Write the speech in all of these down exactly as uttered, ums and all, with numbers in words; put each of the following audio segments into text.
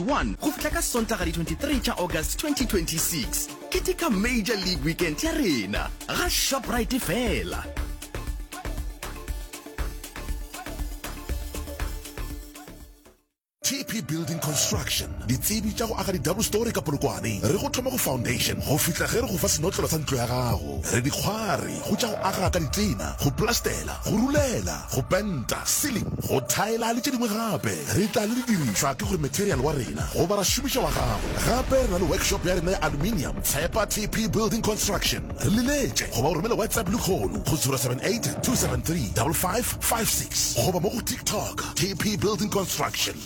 twenty-one go fihla ka Sontaga di twenty-three tša August twenty twenty-six. Keteka Major League Weekend ya rena ga Shoprite fela. T P Building Construction, ditsebi tša go aga di-double story ka Polokwane. Re go thoma go foundation go fihla ge re go fa senotlelo sa ntlo ya gago. Re dikgwari go tša go aga ka ditena, go plastela, go rulela, go penta, ceiling, go thaela le tše dingwe gape. Re tla le didirišwa ke gore material wa rena goba ra šomiša wa gago. Gape re na le workshop ya rena ya aluminium. Tshepa T P Building Construction. Re leletše goba o romele WhatsApp lekgono go zero seven eight two seven three double five five six goba mo go TikTok T P Building Construction.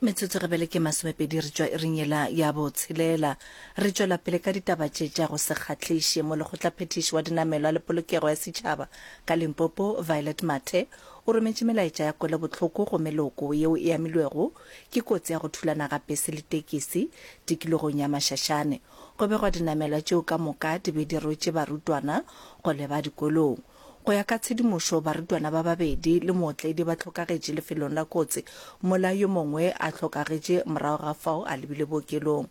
Metsotso gebele ke masomepedi re tšwa iring yela ya botshelela. Re tšwela pele ka ditaba tše tša go se kgahliše. Molekgotlaphethiši wa dinamelwa le polokego ya setšhaba ka Limpopo, Violet Mathe, o rometše melaetša ya kwelobohloko go meloko yeo e amilwego ke kotsi ya go thulana ga pese le tekisi tikologong ya Mashashane. Go begwa dinamelwa tšeo ka moka di be di rwetše barutwana go leba dikolong. Go ya ka tshedimošo, barutwana ba babedi le mootledi ba hlokagetše lefelong la kotsi, mola yo mongwe a hlokagetše morago ga fao a lebile bookelong.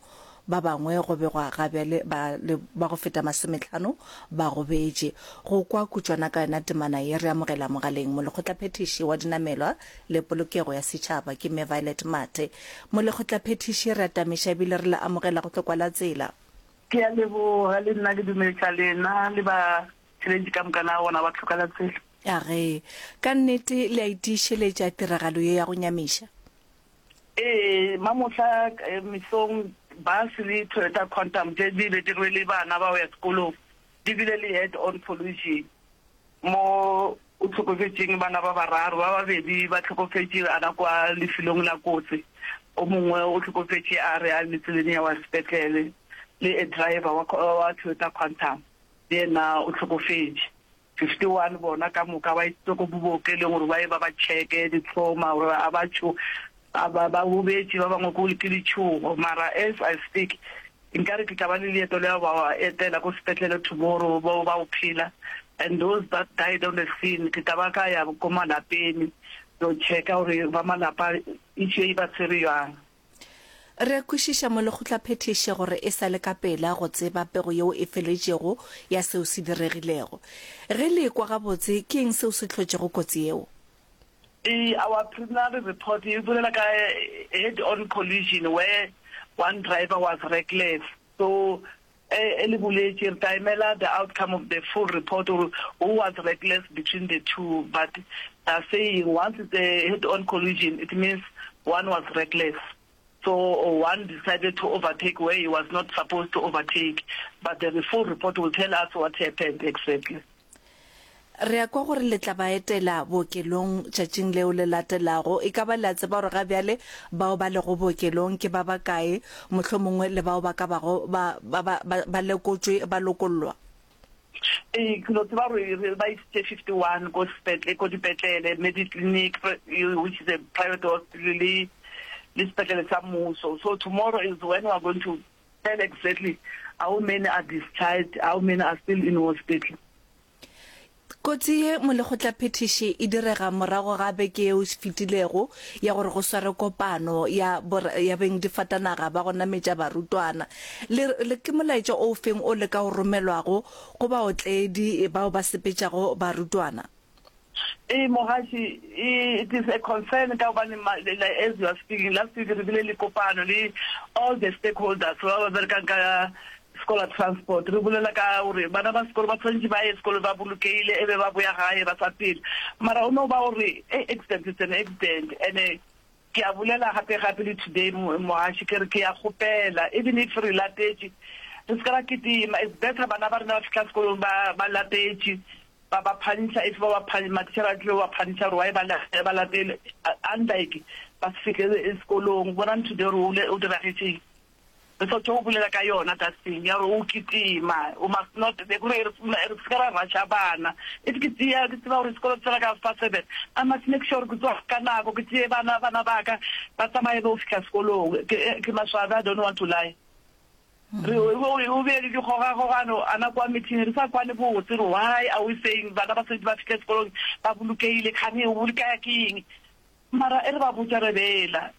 Ba bangwe go begwa ga bjale ba le ba go feta masometlhano ba gobetše. Go kwa kutšwana ka yona temana ye, re amogela mogaleng molekgotlaphethiši wa dinamelwa le polokego ya setšhaba ke Mme Violet Mathe. Molekgotlaphethiši, re atamiša ebile re le amogela go hlokwa la tsela. Ke a leboga le nna ke dumediša lena le ba tšhelete ka moka na bona ba tlhoka la tsela. A ge ka nnete le a itišeletša tiragalo ye ya go nyamiša? Ee, mamohla, eh, mesong bus le Toyota Quantum tše di be di rwele bana ba go ya sekolong di bile le head on collision mo o tlhokofetšeng bana ba bararo, ba babedi ba tlhokofetše ana kwa lefelong la kotsi, o mongwe o tlhokofetše a re a le tseleng ya wa sepetlele, le a driver wa, wa Toyota Quantum le yena o tlhokofetše. fifty-one bona ka moka ba isitswe ko bookelong gore ba ye ba ba checke di-trauma gore a ba tšho, a ba, ba gobetše, ba bangwe ko ke letšhogo. Mara as I speak, nkare ke tla ba le leeto le ba etela ko sepetlele tomorrow, bao ba o phela, and those that died on the scene ke tla ba ka ya ko malapeng go checka gore ba malapa issue e ba tshwere jwang. Re a kwešiša molekgotlaphethiši gore e sa le ka pela go tseba pego yeo e feletšego ya seo se diregilego. Ge le ekwa gabotse, ke eng seo se hlotšego kotsi yeo? Ee, our preliminary report e bolela ka head on collision where one driver was reckless. So e le boletše, re tla emela the outcome of the full report gore who was reckless between the two, but they are saying once it's a head on collision it means one was reckless. So one decided to overtake where he was not supposed to overtake, but the full report will tell us what happened exactly. Re a kwa gore le tla ba etela bookelong tšatšing leo le latelago. E ka ba le a tseba gore ga bjale bao ba lego bookelong ke ba bakae, mohlomongwe le bao ba ka bago ba, ba, ba, ba, ba lekotšwe ba lokollwa? Ee, ke no tseba gore re ba isitše fifty-one ko sepetle, ko dipetlele, Mediclinic, which is a private hospital, le le sepetlele sa mmuso. So tomorrow is when we are going to tell exactly how many are discharged, how many are still in hospital. Kotsi ye molekgotlaphethiši e direga morago ga beke yeo e fetilego ya gore go sware kopano ya ya bengdifatanaga ba go nametša barutwana. Le, le ke molaetša o feng o le ka o romelwago go baotledi bao ba sepetšago barutwana? Ee, mogaši, it is a concern ka gobane as you are speaking, last week re bile le kopano le all the stakeholders ba ba berekang ka scholar transport, re bolela ka gore bana ba sekolo ba tshwanetse ba ye sekolo ba bolokehile, e be ba boya gae ba sa phela. Mara o no ba gore accident is an accident, and ke a bolela gape gape le today mogaši, ke re ke a kgopela even if re latetše re se ka ra kitima, it's better bana ba rena ba fihla sekolong ba ba latetše, ba ba phanisha, if ba ba phanisha, matitjhere a tlile ba phanisha gore why ba ba latele, unlike ba se fihle sekolong. Bonang today gore o diragetšeng, re sa tšo go bolela ka yona that thing ya gore o kitima, o must not, gore re se ka ra rusha bana. If ke tšea ke tseba gore sekolo se tsena ka half past seven, I must make sure ke tsoga ka nako, ke tšee bana bana ba ka ba tsamaye ba o fihla sekolong. Ke ke maswabi, I don't want to lie. Re o be le dikgogakgogano ana kwa meeting, re sa kwane botse gore why are we saying bana ba santse ba fihle sekolong ba bolokehile, kgane o bolokaya ke eng? Mara e re ba botša re bela.